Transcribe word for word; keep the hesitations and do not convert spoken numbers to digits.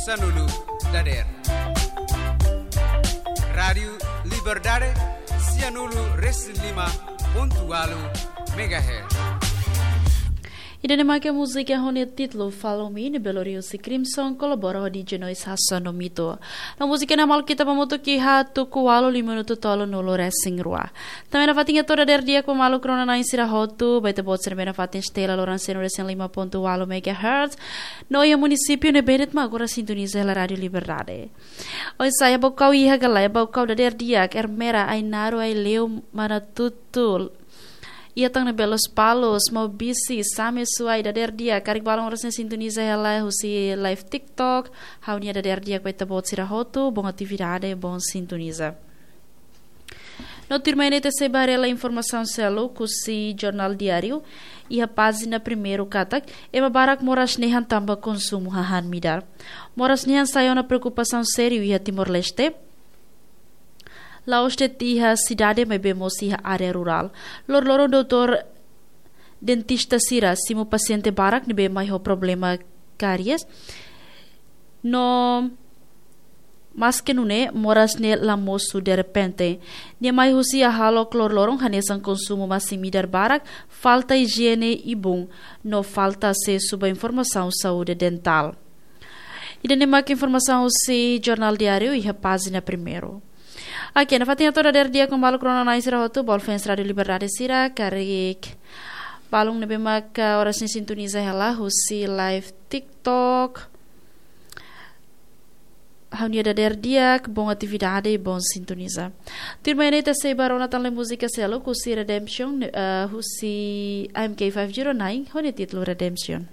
Sanulu dader. Rádiu Liberdade, sianulu resin lima pontu walu megahertz. Ida-ne'e mak múzika ho nia títulu Follow Me, ne'ebé lori husi Crimson, kolabora ho D J Noise Hassan no Mito. No múzika ne'e maluk ita hamutuk iha tuku walu lima minutu tolunulu resin rua. Tanba ne'e nafatin hato'o dader di'ak ba maluk rona-na'in sira hotu, ba ita-boot sira ne'ebé nafatin setel iha loron sianulu resin lima pontu walu megahertz, no iha munisípiu ne'ebé de'it mak agora sintoniza hela Rádiu Liberdade. Oinsá, iha Baucau iha ka lae? Baucau dader di'ak, Ermera, Ainaro, Aileu, Manatuto, iha tan ne'ebé Lospalos, Maubisse, Same, Suai, dader di'ak, karik balun oras ne'e sintoniza hela husi live TikTok, ha'u-nia dader di'ak ba ita-boot sira hotu, bon atividade, bon sintoniza. No tuirmai ne'e ita sei bá haree hela informasaun seluk husi Jornál Diáriu, iha pájina primeiru katak, ema barak moras nehan tanba konsumu hahán midar. Moras nehan sai ona preokupasaun sériu iha Timor-Leste, la'ós de'it iha sidade maibé mós iha área rurál. Loroloron doutór dentista sira simu pasiente barak ne'ebé mai ho problema káries. No maske nune'e, moras ne'e la mosu derrepente. Nia mai husi hahalok loroloron hanesan konsumu masin-midar barak, falta ijiene ibun, no falta asesu ba informasaun saúde dentál. Ida-ne'e mak informasaun husi Jornál Diáriu iha pájina primeiru. Oke, nafatin hato'o dader di'ak ba maluk rona-na'in sira hotu, ba fans Rádiu Liberdade sira, karik balun ne'ebé mak oras ne'e sintoniza hela husi live TikTok, ha'u-nia dader di'ak, bon atividade, bon sintoniza. Tuirmai ne'e ita sei bá rona tan le múzika seluk husi Redemption, eh, husi M K five zero nine, ho nia títulu Redemption.